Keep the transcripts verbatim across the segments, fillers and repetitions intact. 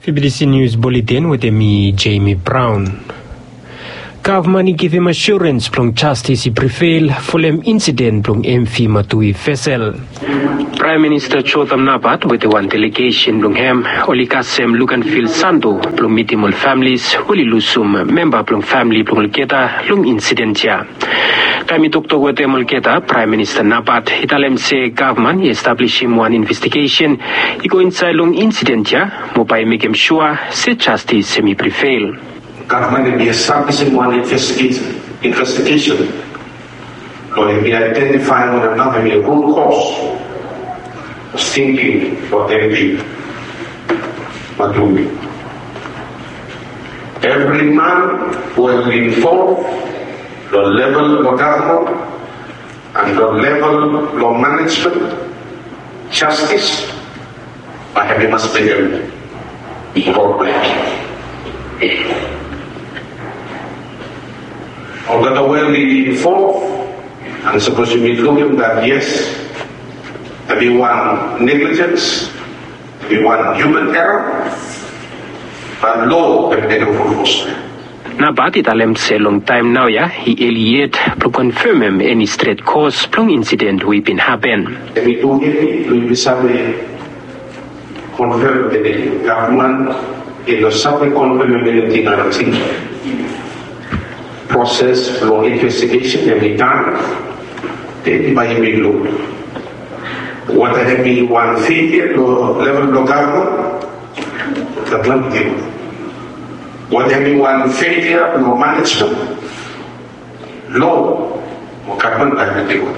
Fibidisi nius buletin wetem mi, Jamie Brown. Gavman i givim asurens blong jastis i prevail folem insiden blong M V Matui vesel. Praem Minista Jotham Napat wetem wan delegesen blong hem oli kasem luk an fil sando blong mitim ol familis we oli lusum memba blong famili blong olgeta long insiden ya. Taem i toktok wetem olgeta, Praem Minista Napat i talem se gavman i establisim wan investigesen i go insaed long insiden ya mo bae i mekem sua se jastis hem i prevail. Gavman hem i establisim wan investigesen, investigesen blong hem i aedentifaem wanem nao hem i rut kos stingking blong M V Matui. Evri man we oli involv long level blong gavman an long level blong manejmen, jastis bae hem i mas mekem involvmen. Olgeta we oli involv, an sapos yumi lukim dat yes, hem i wan neglijens, hem i wan hiuman era, bae loa hem i mekem fulfos. Napat i talem se long taem naoia i eli yet blong konfemem eni stret kos blong insiden we i bin hapen. Hem i tu yet blong yumi save konfem eni gavman i no save konfemem eniting nating. Proses blong investigesen hem i tan. Den bae yumi luk weta hem i wan felia long level blong gavman. Weta hem i wan felia blong manejmen, loa mo gavman bae hem i go.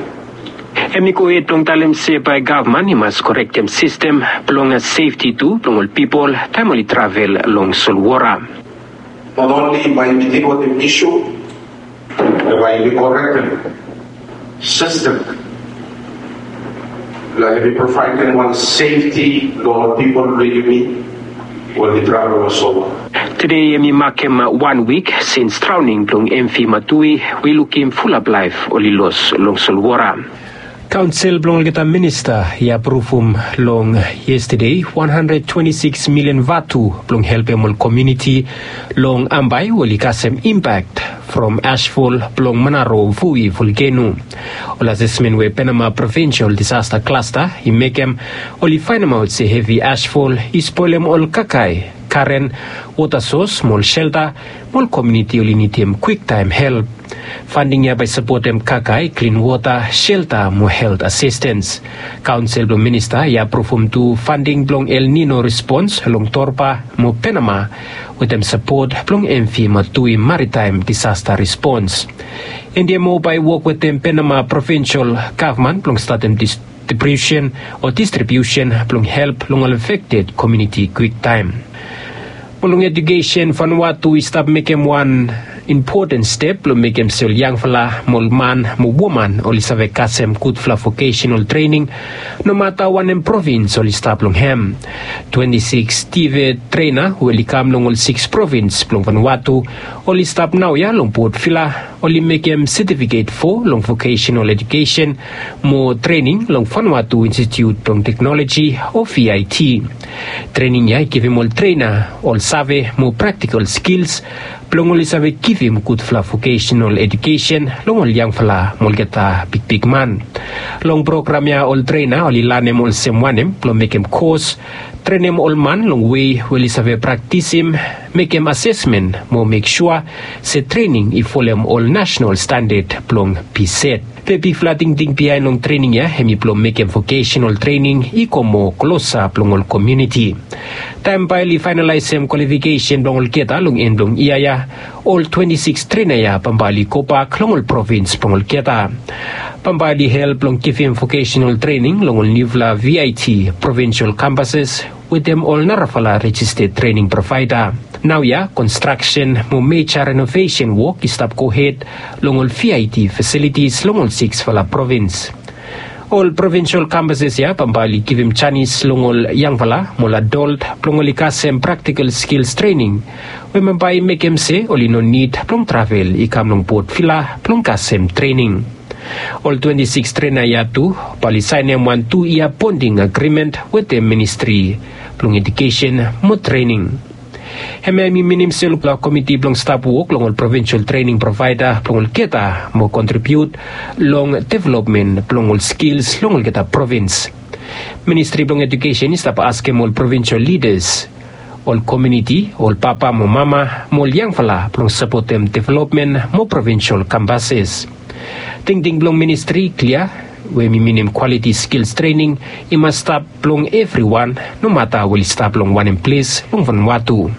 Hem i gohed blong talem se bae gavman i mas korektem sistem blong sefti tu blong ol pipol taem oli travel long solwota. Not only bae yumi dil wetem isu, be bae yumi korektem sistem blong hem i provaedem wan sefti long ol pipol blong yumi we oli travel long solwota. Tede hem i makem wan wik sins draoning blong M V Matui we i lukim fulap laef oli los long solwota. Kaonsel blong olgeta minista i apruvum long yestade wan handred twenti sikis milian vatu blong helpem ol komuniti long Ambae we oli kasem impak from asfol blong Manaro Vui volkeno. Ol asesmen we Penama Provinsol Disasta Klasta i mekem oli faenemaot se hevi asfol i spolem ol kakae, karen, wota sos mo ol selta mo ol komuniti oli nidim kwiktaem help. Fanding ya bae sapotem kakae, klin wota, selta mo helt asistens. Kaonsel blong minista i apruvum tu fanding blong El Nino respons long Torba mo Penama wetem sapot blong M V Matui Maritaem Disasta Respons. Endia mo bae i wok wetem Penama Provinsol Gavman blong statem dis distribusen o distribusen blong help long ol afekted komuniti kwiktaem. Mo long ejukesen, Vanuatu i stap mekem wan impoten step blong mekem se ol yangfala mo ol man mo woman oli save kasem gudfala vokesenal trening, nomata wanem provins oli stap long hem. Twenti sikis TVET trena we oli kam long ol sikis provins blong Vanuatu oli stap naoia long Port Vila, oli mekem setifiket fo long vokesenal ejukesen mo trening long Vanuatu Institut blong Teknoloji o VIT. Trening ya i givim ol trena ol save mo praktikal skils blong oli save givim gudfala vokesenal ejukesen long ol yangfala mo olgeta bigbigman. Long program ya ol trena oli lanem olsem wanem blong mekem kos, trenem ol man long wei we oli save praktisim mekem asesmen mo mek sua se trening i folem ol nasenal standad blong PSET. Be bigfala tingting biaen long trening ya hem i blong mekem vokesenal trening i go moa klosap long ol komuniti. Taem bae oli faenalaesem kwalifikesen blong olgeta long en blong yia ya, ol twenti sikis trena ya bambae oli gobak long ol provins blong olgeta. Bambae oli help long givim vokesenal trening long ol niufala VIT provinsol kampases wetem ol narafala rejisted trening provaeda. Naoia konstraksen mo meja renovesen wok i stap gohed long ol VIT fasilitis long ol siksfala provins. Ol provinsol kampases ya bambae oli givim janis long ol yangfala mo ol adol blong oli kasem praktikal skils trening we bambae i mekem se oli no nid blong travel i kam long Port Vila blong kasem trening. Ol twenti sikis trena ya tu bae oli saenem wan tu yia bonding agrimen wetem Ministri blong Ejukesen mo Trening. Hemia i minim se ol komiti blong stap wok long ol provinsel trening provaeda blong olgeta mo kontribiut long developmen blong ol skils long olgeta provins. Ministri blong Ejukesen i stap askem ol provinsel lidas, ol komuniti, ol papa mo mama mo ol yangfala blong sapotem developmen mo provinsel kampases. Tingting blong ministri i klia, we hemi minim kwaliti skils trening i mas stap blong evriwan, nomata we oli stap long wanem ples long Vanuatu.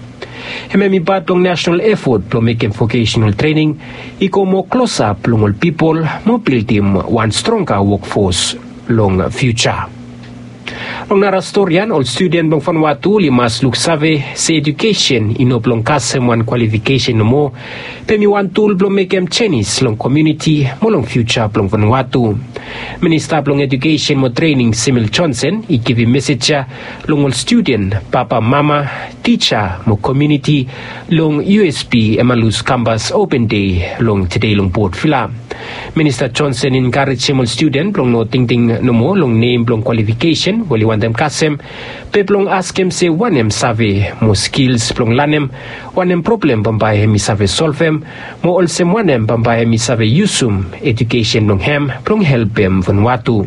Hemia hemi pat blong nasonal efot blong mekem vokesenal trening i go moa klosap long ol pipol mo bildim wan stronga wokfos long fiuja. Long nara stori ya, ol studen blong Vanuatu oli mas luksave se ejukesen i no blong kasem wan kwalifikesen nomo, be hemi wan tul blong mekem jenis long komuniti mo long fiuja blong Vanuatu. Minista blong Ejukesen mo Trening Samuel Johnson i givim mesej ya long ol studen, papa, mama, tija mo komuniti long U S P Emmaus Kampas Open Dei long tede long Port Vila. Minista Johnson i enkarejem ol studen blong no tingting nomo long nem blong kwalifikesen we oli wantem kasem, be blong askem se wanem save mo skils blong lanem, wanem problem bambae hemi save solvem, mo olsem wanem bambae hemi save yusum ejukesen blong hem blong helpem Vanuatu.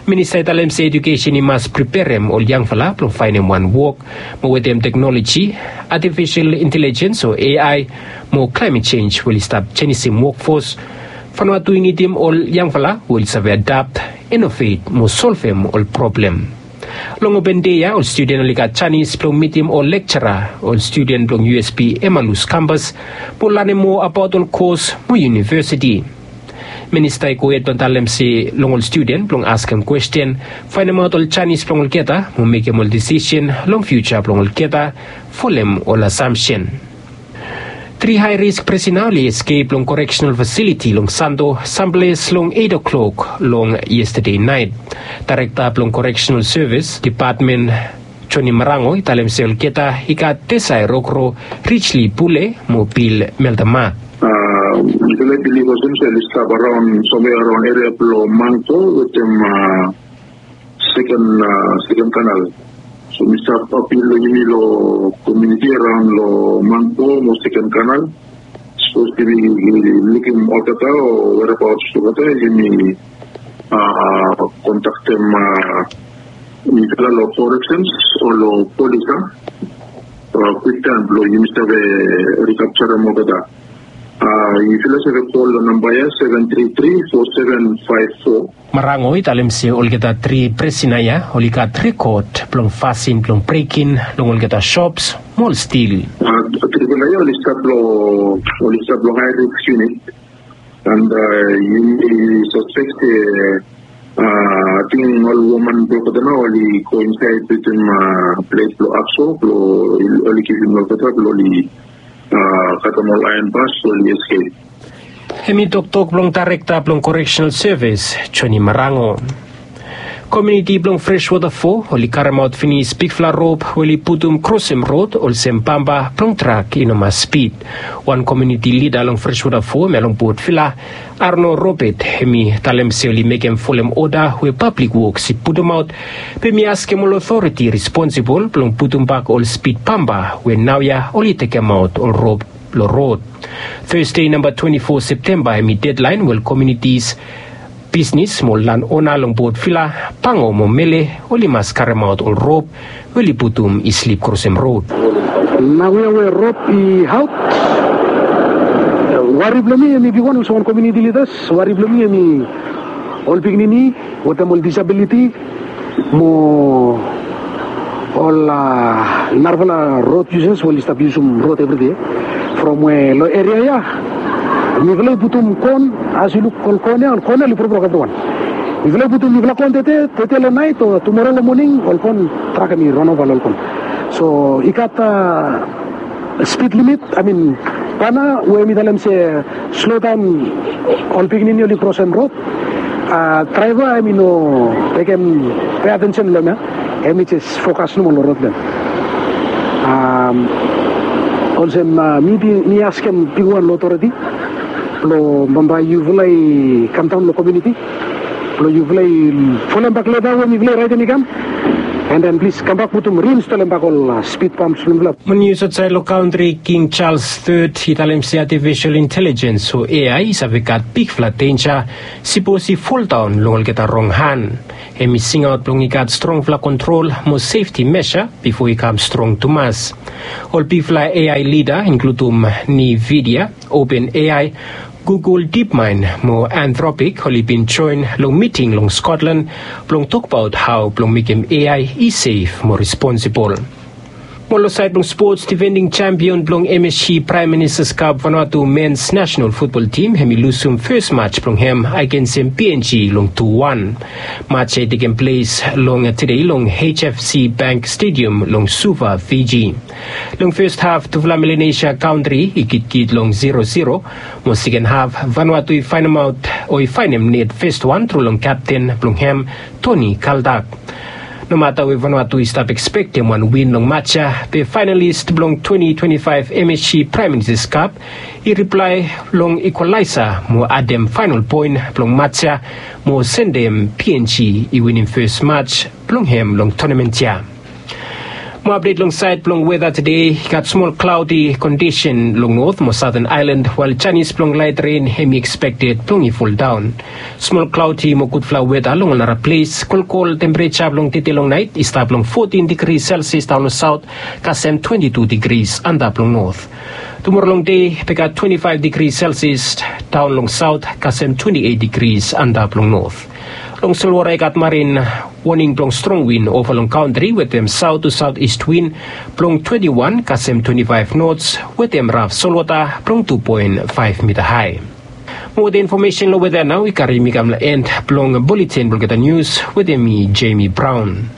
Minista i talem se ejukesen i mas preperem ol yangfala blong faenem wan wok, mo wetem teknoloji, atifisol intelejens o A I, mo klaemet jenj we oli stap jenisim wokfos, Vanuatu i nidim ol yangfala we oli save adap, inovet mo solvem ol problem. Long Open Dei ya, ol studen oli gat janis blong mitim ol lekjara, ol studen blong U S P Emmaus Kampas, mo lanem moa abaot ol kos mo univesiti. Minista i gohed blong talem se long ol studen blong askem kwesten, faenemaot ol janis blong olgeta mo mekem ol disisen long fiuja blong olgeta, folem ol asamsen. Tri hae risk prisena oli eskep long koreksenal fasiliti long Santo samples long eit o'klok long yestade naet. Daerekta blong Koreksenal Sevis Depatmen Johnny Marango i talem se olgeta i gat Desai Rokro, Richly Pule mo Bill Meltama. Yufala i bilif olsem se oli stap araon, somewhere araon eria blong Mangko wetem seken, seken kanal. So mi stap apil long yumi long komuniti araon long Mangko mo seken kanal. Sapos yumi lukim olgeta o whereabouts blong olgeta, yumi kontaktem yufala long koreksens o long polis, a, kwiktaem blong yumi save rikapjarem olgeta. Yufala save kol long namba ya, seven three three four seven five four. Marango i talem se olgeta tri prisena ya oli gat rekod blong fasin blong brekin long olgeta sops mo ol stil. Tripela ya oli stap long, oli stap long hae risk yunit. And yumi saspek se ating ol woman blong olgeta nao oli go insaed wetem plet blong akso blong oli givim olgeta blong oli katem ol aeon bas blong oli eskep. Hemi toktok blong Daerekta blong Koreksenal Sevis, Johnny Marango. Komuniti blong Freshwater Fo oli karemaot finis bigfala rop we oli putum krosem rod olsem bampa blong trak i no mas spid. Wan komuniti lida long Freshwater Fo, hemia long Port Vila, Arno Robert, hemi talem se oli mekem folem oda we Pablik Woks i putumaot, be hemi askem ol otoriti responsibol blong putumbak ol spid bampa we naoia oli tekemaot ol rop long rod. Thursday namba twenti fo Septemba hemi dedlaen we ol komunitis, bisnis mo ol lanona long Port Vila, Pango mo Mele, oli mas karemaot ol rop we oli putum i slip krosem rod. Naoia we rop i aot, wari blong mi hemi bigwan olsem wan komuniti lidas, wari blong mi hemi ol pikinini wetem ol disabiliti mo ol narafala rod yusas we oli stap yusum rod evri dei. From we long eria ya mifala i putum kon, as yu luk ol kon ya, ol kon ya oli brokbrok evriwan. Mifala i putum mifala kon tede, tede long naet o tumora long moning, ol kon trak hemi ranova long ol kon. So i gat spid limit, I mean, bana we mi talem se slodaon ol pikinini oli krosem rod. Draeva hemi no tekem pe atensen long hemia, hemi jes fokas nomo long rod ya. Olsem mi askem bigwan long otoriti Blong bambae yufala i kamdaon long komuniti blong yufala i folem bak leta we mifala i raetem i kam. And then plis kambak putum reinstolem bak ol spid pams blong mifala. Mo nius aotsaed long kantri, King Charles Third i talem se artificial intelligence o A I i save gat bigfala denja sipos i foldaon long olgeta rong han. Hem i singaot blong i gat strongfala kontrol mo sefti mesa bifo i kam strong tumas. Ol bigfala A I lida inkludum Nvidia, OpenAI, Google DeepMind mo Anthropic oli bin joen long miting long Scotland blong tokbaot hao blong mekem A I i sef mo responsibol. Mo long saed blong spots, difending champion blong M S G Prime Minister's Cup Vanuatu men's national football team hem i lusum fes match blong hem agensem P N G long tu wan. Match ya i tekem ples long tede long H F C Bank Stadium long Suva, Fiji. Long fes haf tufala Melanesia kantri i kitkit long zero zero. Mo seken haf Vanuatu i faenemaot o i faenem net fes wan tru long kapten blong hem, Toni Kaldak. Nomata we Vanuatu i stap ekspektem wan win long match ya, be faenalis blong twenti twenti faef M S G Prime Minister's Cup i riplae long ikwalaesa mo adem faenol poen blong match ya mo sendem P N G i winim fes match blong hem long tonamen ya. Mo apdet long saed blong weta tede, i gat smol klaodi kondisen long not mo saoten aelan, wael janis blong laet ren hem i ekspekted blong i foldaon. Smol klaodi mo gudfala weta long ol nara ples. Kolkol tempereja blong tede long naet i stap long fotin digri Celsius daon long saot kasem twenti tu digris antap long not. Tumora long dei be gat twenti faef digri Celsius daon long saot kasem twenti eit digris antap long not. Long solwota i gat marin woning blong strong win ova long kantri wetem saot tu saot ist win blong twenti wan kasem twenti faef nots wetem raf solwota blong tu poen faef mita hae. Mo wetem infomesen long weta nao i karim mi kam long en blong buletin blong olgeta nius wetem mi, Jamie Brown.